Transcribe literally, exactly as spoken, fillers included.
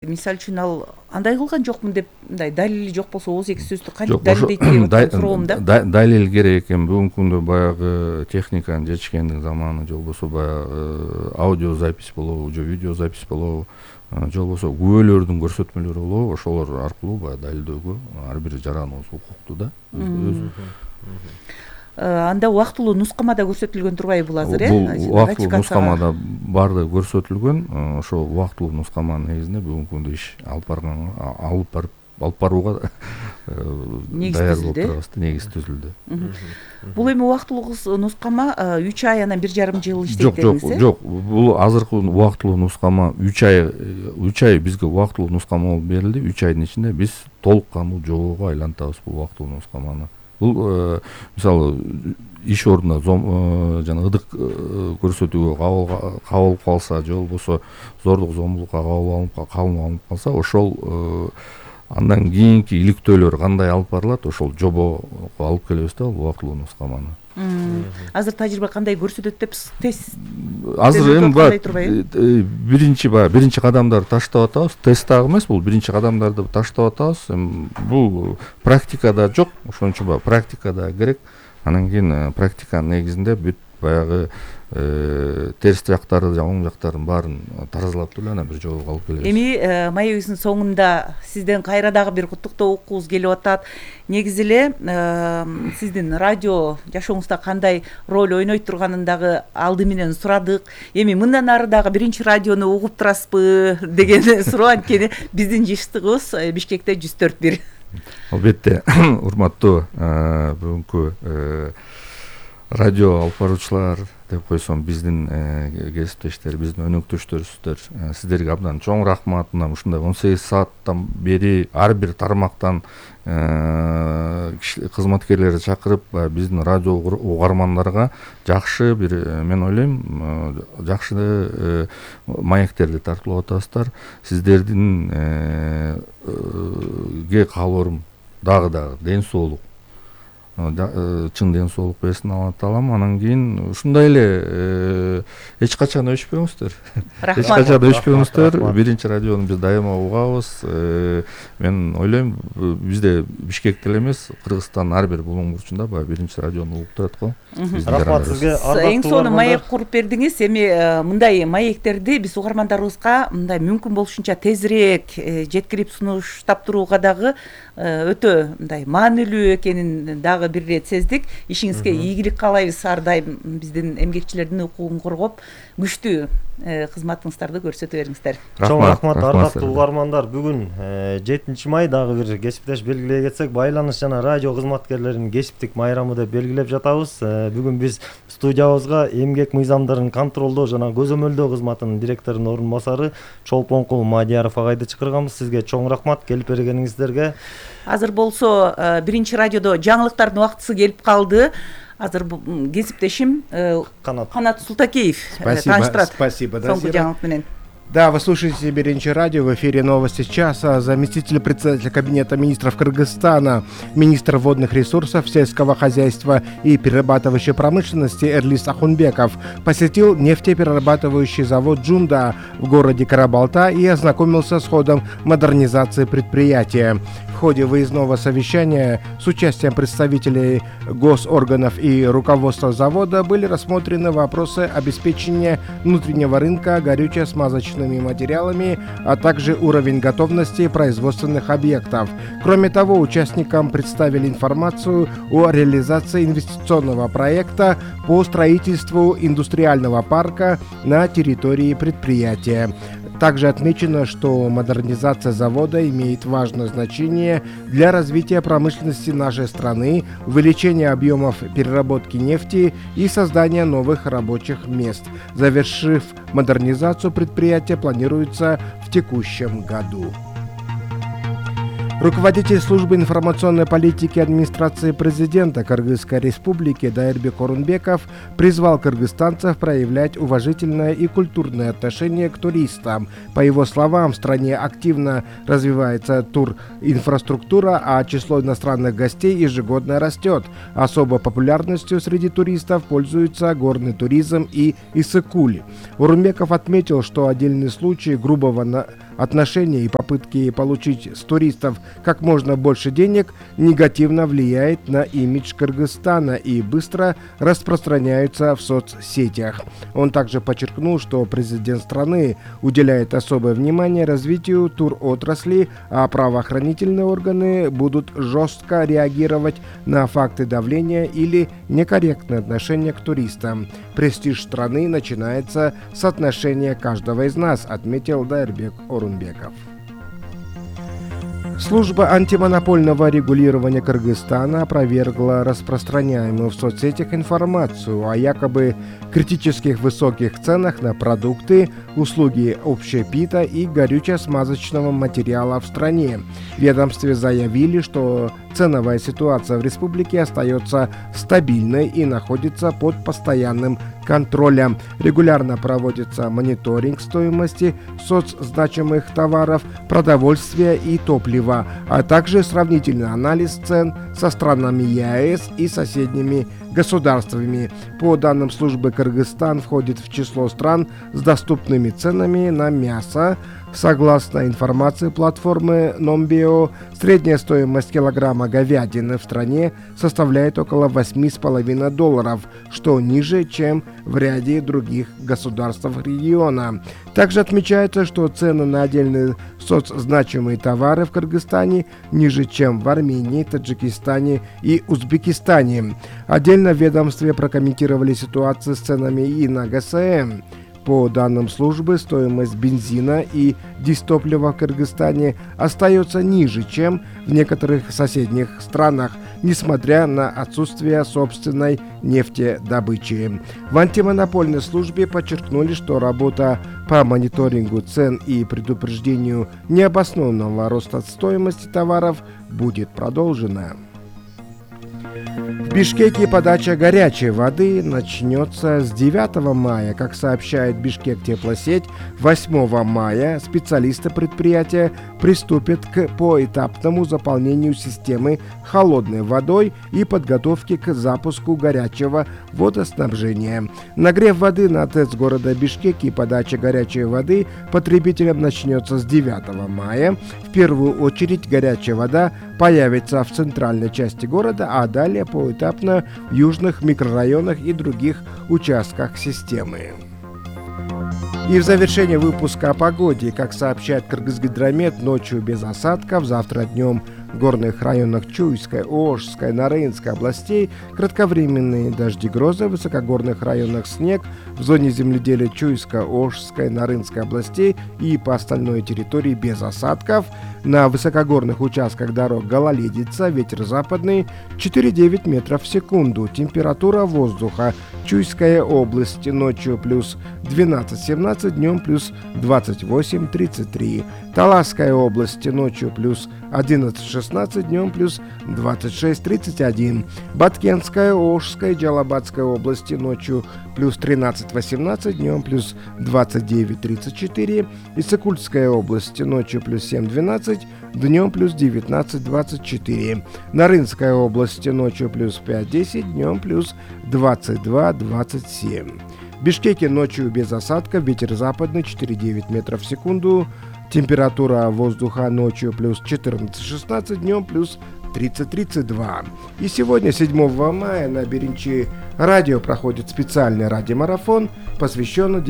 Мисалы үчүн ал андай кылган жокмун деп мындай далили жок болсо ооз эки сөздү кантип далилдейт деп суроом да. Далил керек экен. Бүгүнкү күндө баягы техниканын жетишкендиги заманы, же болбосо баягы аудио запись болобу, же видео запись болобу, же болбосо күбөлөрдүн көрсөтмөлөрү болобу, ошолор аркылуу баягы далилдөөгө ар бир жараныбыз укуктуу да. Анда убактылуу нускамада көрсөтүлгөн турбайбы бул азыр, э? Бул убактылуу нускамада баардыгы көрсөтүлгөн. Ошо убактылуу нускаманын негизинде бүгүнкү күндө иш алып барганга, алып барып, алып барууга даяр болуп турабыз да, негиз түзүлдү. Бул эми убактылуу нускама үч ай анан бир жарым жыл иштейт дедиңиз, э? Жок, жок. Бул азыркы убактылуу нускама үч ай, үч ай бизге убактылуу нускама болуп берилди. үч айдын ичинде биз толук кандуу жобого айлантабыз бул убактылуу нускаманы. Бул мисалы иш ордунда жана ыдык көрсөтүүгө кабыл калса, же болбосо зордук зомбулукка кабыл алынып калса, ошол андан кийинки иликтөөлөр кандай алып барылат, ошол жобого алып келебиз да, бул убактылуу нускаманы. Азыр тажрыйба кандай көрсөтөт деп тест азыр эми баягы биринчи баягы биринчи кадамдарды таштап атабыз. Тест дагы эмес, бул биринчи кадамдарды таштап атабыз. Бул практикада жок, ошон үчүн баягы практикада керек. Анан кийин практиканын негизинде бүт баягы терс жактары жана оң жактарын баарын таразалап туруп анан бир жобого алып келебиз. Эми маегибиздин соңунда сизден кайра дагы бир куттуктоо окугубуз келип атат. Негизи эле сиздин радио жашооңузда кандай роль ойнойт турганын дагы алды менен сурадык. Эми мындан ары дагы биринчи радиону угуп турасызбы деген суроо, анткени биздин жыштыгыбыз Бишкекте жүз төрт бир. Албетте, урматтуу бүгүнкү радио алып баруучулар деп койсом, биздин кесиптештер, биздин өнөктөштөрүбүздөр, сиздерге абдан чоң рахмат. Мына ушундай он сегиз сааттан бери ар бир тармактан кызматкерлерди чакырып, биздин радио угармандарга жакшы бир, мен ойлойм, жакшы маектерди тартуулап атасыздар. Сиздердин ге каалоорум дагы дагы ден соолук, чын ден соолук берсин Алла таалам. Анан кийин ушундай эле эч качан өчпөңүздөр. Эч качан өчпөңүздөр. Биринчи радиону биз дайыма угабыз. Мен ойлойм, бизде Бишкекте эле эмес, Кыргызстандын ар бир булуң бурчунда баягы биринчи радиону угуп турат го. Рахмат сизге. Эң сонун маек куруп бердиңиз. Эми мындай маектерди биз угармандарыбызга мындай мүмкүн болушунча тезирээк жеткирип сунуштап турууга дагы өтө мындай маанилүү экенин дагы бир ирет сездик. Ишиңизге ийгилик каалайбыз. Ар дайым биздин эмгекчилердин укугун коргоп, күчтүү кызматыңыздарды көрсөтө бериңиздер. Чоң рахмат, ардактуу угармандар. Бүгүн жетинчи май, дагы бир кесиптеш белгилей кетсек, байланыш жана радио кызматкерлеринин кесиптик майрамы деп белгилеп жатабыз. Бүгүн биз студиябызга эмгек мыйзамдарын контролдоо жана көзөмөлдөө кызматынын директорунун орун басары Чолпонкул Мадияров агайды чакырганбыз. Сизге чоң рахмат келип бергениңиздерге. Азыр болсо биринчи радиодо жаңылыктардын убактысы келип калды. Азыр кесиптешим Канат Султакеев тааныштырат. Спасибо. Соңку жаңылык менен. Да, вы слушаете Биринчи радио, в эфире новости часа. Заместитель председателя Кабинета министров Кыргызстана, министр водных ресурсов, сельского хозяйства и перерабатывающей промышленности Эрлис Ахунбеков посетил нефтеперерабатывающий завод «Джунда» в городе Карабалта и ознакомился с ходом модернизации предприятия. В ходе выездного совещания с участием представителей госорганов и руководства завода были рассмотрены вопросы обеспечения внутреннего рынка горюче-смазочными материалами, а также уровень готовности производственных объектов. Кроме того, участникам представили информацию о реализации инвестиционного проекта по строительству индустриального парка на территории предприятия. Также отмечено, что модернизация завода имеет важное значение для развития промышленности нашей страны, увеличения объемов переработки нефти и создания новых рабочих мест. Завершив модернизацию предприятия, планируется в текущем году. Руководитель службы информационной политики администрации президента Кыргызской республики Дайырбек Орунбеков призвал кыргызстанцев проявлять уважительное и культурное отношение к туристам. По его словам, в стране активно развивается туринфраструктура, а число иностранных гостей ежегодно растет. Особой популярностью среди туристов пользуются горный туризм и Иссык-Куль. Орунбеков отметил, что отдельные случаи грубого отношения и попытки получить с туристов как можно больше денег негативно влияет на имидж Кыргызстана и быстро распространяются в соцсетях. Он также подчеркнул, что президент страны уделяет особое внимание развитию туротрасли, а правоохранительные органы будут жестко реагировать на факты давления или некорректное отношение к туристам. Престиж страны начинается с отношения каждого из нас, отметил Дайырбек Орунбеков. Служба антимонопольного регулирования Кыргызстана опровергла распространяемую в соцсетях информацию о якобы критических высоких ценах на продукты, услуги общепита и горюче-смазочного материала в стране. В ведомстве заявили, что ценовая ситуация в республике остается стабильной и находится под постоянным контролем. Регулярно проводится мониторинг стоимости соцзначимых товаров, продовольствия и топлива, а также сравнительный анализ цен со странами ЕАЭС и соседними государствами. По данным службы, Кыргызстан входит в число стран с доступными ценами на мясо. Согласно информации платформы Номбио, средняя стоимость килограмма говядины в стране составляет около восемь с половиной долларов, что ниже, чем в ряде других государств региона. Также отмечается, что цены на отдельные соцзначимые товары в Кыргызстане ниже, чем в Армении, Таджикистане и Узбекистане. Отдельно в ведомстве прокомментировали ситуацию с ценами и на ГСМ. По данным службы, стоимость бензина и дистоплива в Кыргызстане остается ниже, чем в некоторых соседних странах, несмотря на отсутствие собственной нефтедобычи. В антимонопольной службе подчеркнули, что работа по мониторингу цен и предупреждению необоснованного роста стоимости товаров будет продолжена. В Бишкеке подача горячей воды начнется с девятого мая. Как сообщает Бишкек Теплосеть, восьмого мая специалисты предприятия приступят к поэтапному заполнению системы холодной водой и подготовке к запуску горячего водоснабжения. Нагрев воды на ТЭЦ города Бишкек и подача горячей воды потребителям начнется с девятого мая. В первую очередь горячая вода появится в центральной части города, а далее поэтапно в южных микрорайонах и других участках системы. И в завершение выпуска о погоде. Как сообщает Кыргызгидромет, ночью без осадков, завтра днем в горных районах Чуйской, Ошской, Нарынской областей кратковременные дожди, грозы, в высокогорных районах снег, в зоне земледелия Чуйской, Ошской, Нарынской областей и по остальной территории без осадков. На высокогорных участках дорог гололедица, ветер западный четыре-девять метров в секунду. Температура воздуха: Чуйская область ночью плюс двенадцать-семнадцать, днем плюс двадцать восемь-тридцать три. Таласская область ночью плюс одиннадцать-шестнадцать, днем плюс двадцать шесть-тридцать один. Баткенская, Ошская, Джалабадская области ночью плюс тринадцать-восемнадцать, днем плюс двадцать девять-тридцать четыре. Иссыкульская область ночью плюс семь-двенадцать, днем плюс девятнадцать-двадцать четыре. Нарынская область ночью плюс пять-десять, днем плюс двадцать два-двадцать семь. В Бишкеке ночью без осадков, ветер западный четыре-девять метров в секунду. Температура воздуха ночью плюс четырнадцать-шестнадцать, днем плюс тридцать-тридцать два. И сегодня, седьмого мая, на Беренчи радио проходит специальный радиомарафон, посвященный